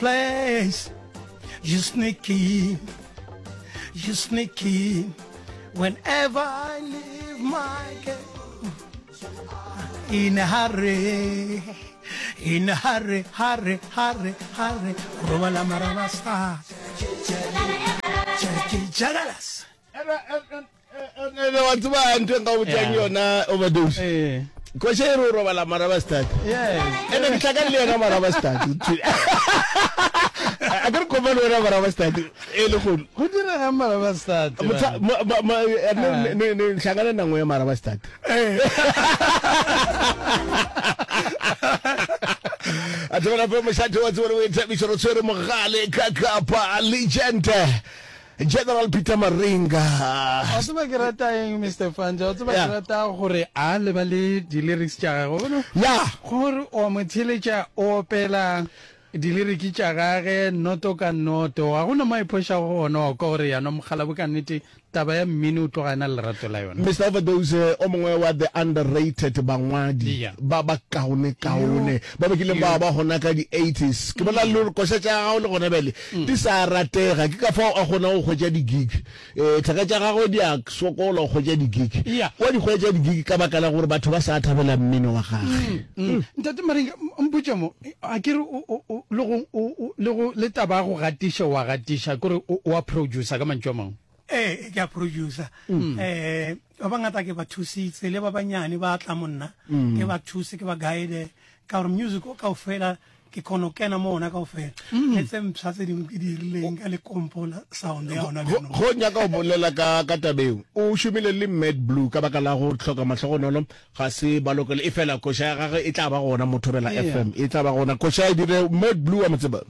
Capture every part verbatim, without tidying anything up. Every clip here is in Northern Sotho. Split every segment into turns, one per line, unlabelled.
Place. You sneaky, you sneaky. Whenever I leave my girl in a hurry, in a hurry, hurry, hurry, hurry. Robala marabasta. Jagalas.
Ene wa tseba ntho e nka botšang yona overdose.
Eh.
Koša e re o robala marabastad.
Yes.
Ene ke hlakane le yena marabastad. A ke re kopane le wena marabastad e le kgono.
Go direga marabastad.
Motha ma ma ma ne ne ne hlangana nangwe ya marabastad. A tsebela pe mošate wa tsebela boithabišo re tshwere mogale ka kapa legend General Peter Maringa.
Wa tseba ke rata eng Mister Fanja? Wa tseba
Yeah.
ke rata gore a lebale di-lyrics tša gagwe. Bona
Ya.
gore o mo theletša o opela di-lyric tša gage noto ka noto. Ga gona mo a iphošago gona wa kwa gore yana mokgalabo ka nnete taba ya mmino o tloga a na le lerato la yona.
Mister Overdose o mongwe wa the underrated bangwadi
Yeah.
ba ba kaone kaone ba ba kileng ba ba gona ka di eighties. Ke bona le koša tša gago le gona bjale di sa ratega, ke ka fao a kgona go hwetša di gig. Eh thaka tša gagwe di a sokola go hwetša di gig.
Yeah.
Wa di hwetša di gig ka baka la gore batho ba sa thabela mmino wa gagwe.
Mm. Ntate Maringa, mpotše mo, a ke re o, o, o, le go, o, o, le go, le taba ya go gatiša, wa gatiša, ke gore o, o a producer ka mantšu a mangwe.
Ee, ke a producer. Eh, ba bangata ke ba thusitse, le ba banyane ba tla monna, ke ba thuse, ke ba guide, ka gore music o kaofela ke kgona go kena mo ona kaofela. Le tse mpsha tse dingwe ke di dirileng ka lekompo la sound ya ona
Go
bjanong.
go nyaka go bolela ka ka tabeo. O šomile le Mad Blue ka baka la go hloka mahlogonolo ga se ba lokele, efela koša ya gagwe e tla ba gona mo Thobela
Yeah.
F M, e tla ba gona. Koša e dire Mad Blue wa mo tseba?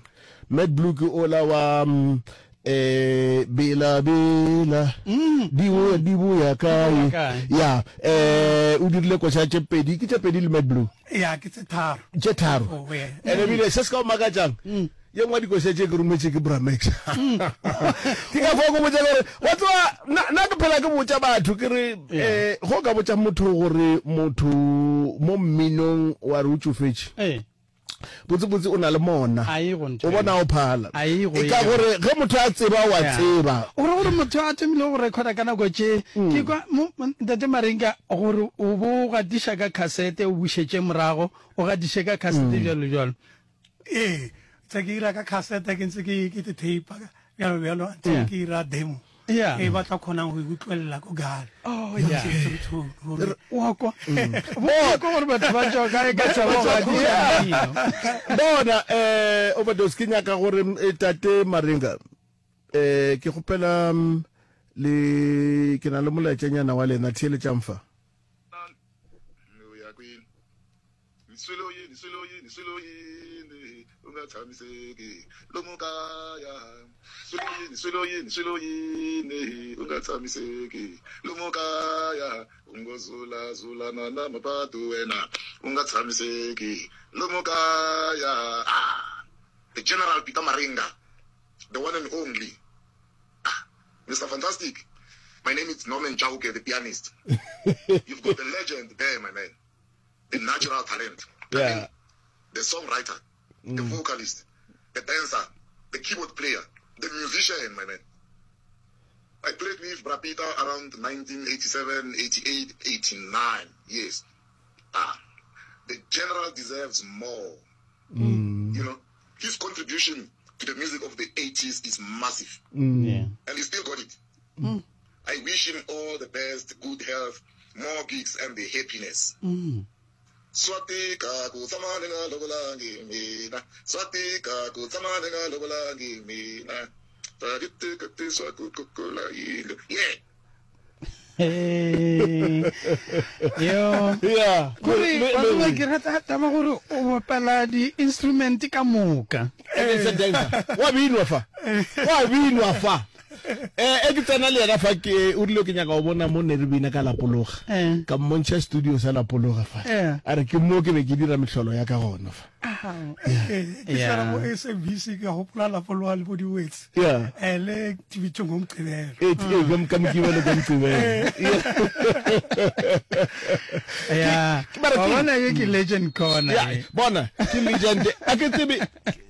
Mad Blue ke ola wa mm, eh bela bela di boya di boya kae
kae.
ya eh o dirile koša tše pedi, ke tše pedi le Mad Blue
Ya, ke tse tharo.
tše tharo.
Oh, yeah.
Ene ebile se se ka o makatšang, ye nngwe ya dikoša tše ke rometše ke Bramax. Ke ka fao ke botša gore wa tseba nna nna ke phela ke botša batho ke re eh go ka botša motho gore motho mo mminong wa re o tšofetše,
Eh.
botsebotse o na le mona,
A e go ntho
o bona o phala.
A e go
E ka
eo.
gore ge motho a tseba wa
Yeah.
tseba.
O ra gore motho a thomile go recorda ka nako tše, ke kwa mo, mo, Ntate Maringa, gore o bo o gatiša ka cassette, o bušetše morago, o gatiše ka cassette bjalo bjalo.
Ee, tse ke ira ka cassette, ke ntse ke, ke te tape bjalo bjalo, until
Yeah.
ke ira demo.
Yeah.
E ba tla kgonang go e utlwelela ko gae.
Oh, yeah.
Through tone, gore
Wa kwa. Bo kwa gore batho ba tšwa kae ka tšwa go gatiša mmino.
Bona, eh, Overdose, ke nyaka gore, eh, Tate Maringa, eh, ke kgopela, mm, le, ke na le molaetšanyana wa lena, theeletšang fa.
O ya kwini? Swilo yini, swilo yini, swilo yini, u nga tshamiseki lomu kaya. Swilo yini, swilo yini, swilo yini, u nga tshamiseki lomu kaya. U ngo zula zulana na mapatu wena, u nga tshamiseki lomu kaya. Ah, the General Peter Maringa, the one and only. Ah, Mister Fantastic, my name is Norman Chauke, the pianist. You've got the legend there, my man. The natural talent. I
Yeah.
mean, the songwriter, the vocalist, the dancer, the keyboard player, the musician, my man. I played with Bra Peter around nineteen eighty-seven, eighty-eight, eighty-nine. Yes. Ah, the general deserves more. You know, his contribution to the music of the eighties is massive.
Yeah.
And he still got it. I wish him all the best, good health, more gigs, and the happiness. Swatika ku tshama ni nga lovolangi mina. Swatika ku tshama ni nga lovolangi mina. Swa ku kukula yindlu. Yeah.
Hey. Yo.
Yeah.
Gore,
Le-
wa
le-
tseba ke rata taba gore o bapala di-instrument ka moka.
Ene se dancer. Wa binwa fa. Wa binwa fa. Eh, e ke tsena le yena fa ke o rile ke nyaka go bona mo ne re bina ka Lapologa.
Eh.
Ka mmontšha studio sa Lapologa fa.
Eh.
A re ke mo ke be ke dira mehlolo ya ka gona fa.
Eh, ke
Yeah.
sala mo S A B C, ke gopola Lapologa le bo diwetse
Yeah.
um le tibitsong ngomgqibelo.
Eh, eh, ka- ka Mokibelo, ka Moqebelo.
Ya.
Ke- mara
Wa
ke-
bona, ye ke legend corner.
Ya,
ye.
bona ke legend. A ke tsebe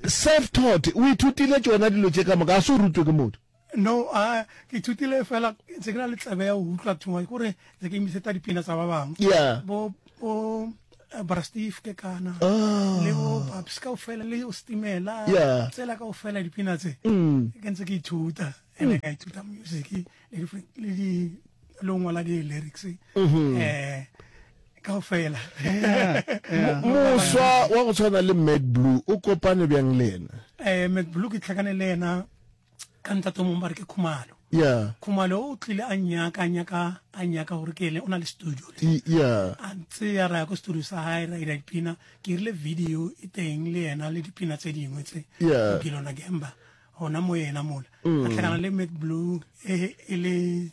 self taught o ithutile tšona dilo tše ka moka, a se o rutwe ke motho?
No, a ke ithutile fela, ntse ke na le tsebe ya go utlwa thuma, kore ntse ke imisetsa dipina tsa ba bangwe.
Yeah.
Bo bo eh, Bra Steve ke kana
Ah.
le bo Babs kaofela le o Stimela.
Yeah.
Tsela kaofela dipina tse
Mm.
ke ntse ke ithuta, ene ka ithuta music le di- le di le ho ngola di-lyrics
Mm-hmm.
eh kaofela.
Moswa wa go tshwana le Mad Blue, o kopane bjang le yena?
eh Mad Blue ke tlhakane le yena ka ntate o mongwe ba re ke Khumalo.
Yeah.
Khumalo o tlile a nyaka a nyaka a nyaka gore ke ele o na le studio le
I- yeah
a ntse ya ra ya ko studio sa hae, ra ira dipina, ke rile video e teng le yena le dipina tse dingwe tse.
Yeah.
Gilona Gemba gona mo yena mola a tlhakana le Mad Blue e e le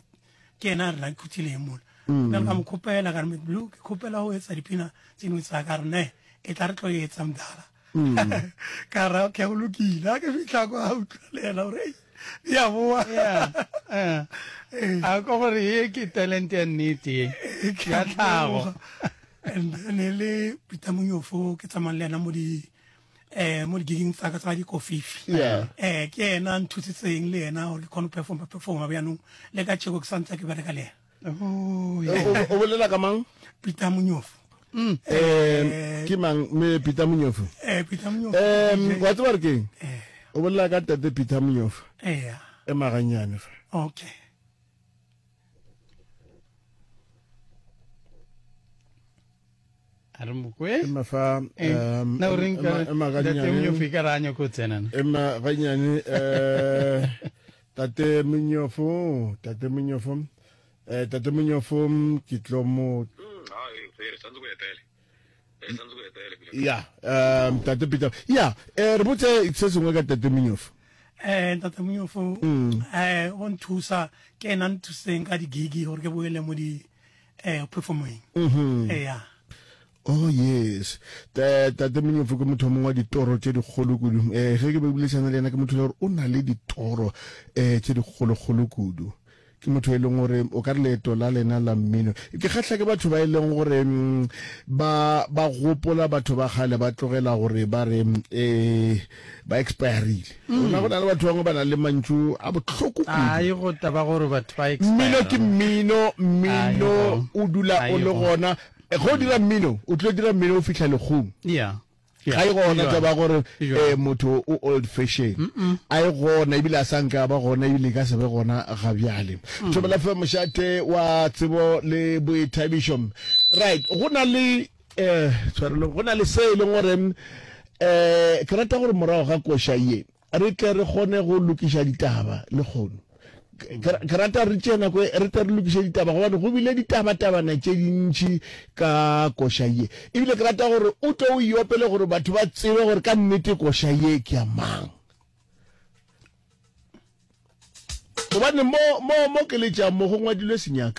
ke yena a re na khuthileng mola nna ka mo khopela ka re, Mad Blue, ke khopela ho etsa dipina tse dingwe tsa ka re ne e tla re tlo etsa mdala. Ka ra ke go lokile. Ha ke fitlha kwa, a utlwa le yena gore, "Ei, di a boa."
Yeah. Eh.
Ee.
A ko gore ye ke talent ya nnete ye.
Ke
Ya
a
tlhago.
leboga. And then e le Peter Monyofo ke tsamayang le yena mo di eh mo di-gigging tsa ka tsa dikofifi.
Yeah.
eh ke ena a nthusitseng le yena gore ke kgone go performa performa bjanong le ka tšheko ke santse ke bereka le yena.
Oh,
O
yeah.
o bolela ka mang?
Peter Monyofo.
Um ke mang me Peter Monyofo?
eh Peter Monyofo.
Um
D J.
wa tseba re keng?
Eh.
O bolela ka tate Peter Monyofo.
Eh
E maganyane fa.
Okay.
A re mokwe.
Ema fa.
Eh,
um
na o reng ka
ema- ema
Ntate
ganyane.
Monyofo e ka re a nyako tsena na?
Ema ganyane, eh tate Monyofo, tate Monyofo, eh tate Monyofo, ke tlo mo ya um tate Peter ya eh re botse se sengwe ka tate Monyofo.
eh ntate Monyofo eh o nthusa, ke ena a nthusitseng ka di-gigi gore ke boele mo di eh performing eh ya.
Oh yes, Ta- tate Monyofo ke motho o mongwe wa ditoro tše dikgolo kudu. um ge ke be boledišana le yena, ke motho e le gore o na le ditoro um tše dikgolokgolo kudu. Ke motho e leng gore o ka re leeto la lena la mmino, ke kgahla ke batho ba e leng gore mm, ba ba gopola batho ba kgale, ba tlogela gore ba re um ba expirile. Gona go na le batho bangwe ba na le mantšu a bohloko kudu.
Ai, go taba gore batho ba
Mmino ke
expire.
mmino, mmino
Aigo.
o dula o le
Aigo.
gona. Eh, ge o dira mmino, o tlo dira mmino o fihla lekgong.
Yeah.
Ga e gona taba gore
Jwang.
eh motho o old fashion, a e gona, ebile a sa nka ba gona, ebile e ka se be gona ga bjale. Thobela Fe, mošate wa tsebo le boithabišo. Right, go na le eh tshwarelo, go na le se e leng gore eh ke rata gore morago ga koša ye re tle re kgone go lokiša ditaba le kgono. Ke ke rata re tšee nako e, re tle re lokiše ditaba, gobane go bile ditabatabana tše dintši ka koša ye, ebile ke rata gore o tlo o iopele gore batho ba tsebe gore ka nnete koša ye ke ya mang, gobane mo mo mo ke letšang mo go ngwadilwe senyaka.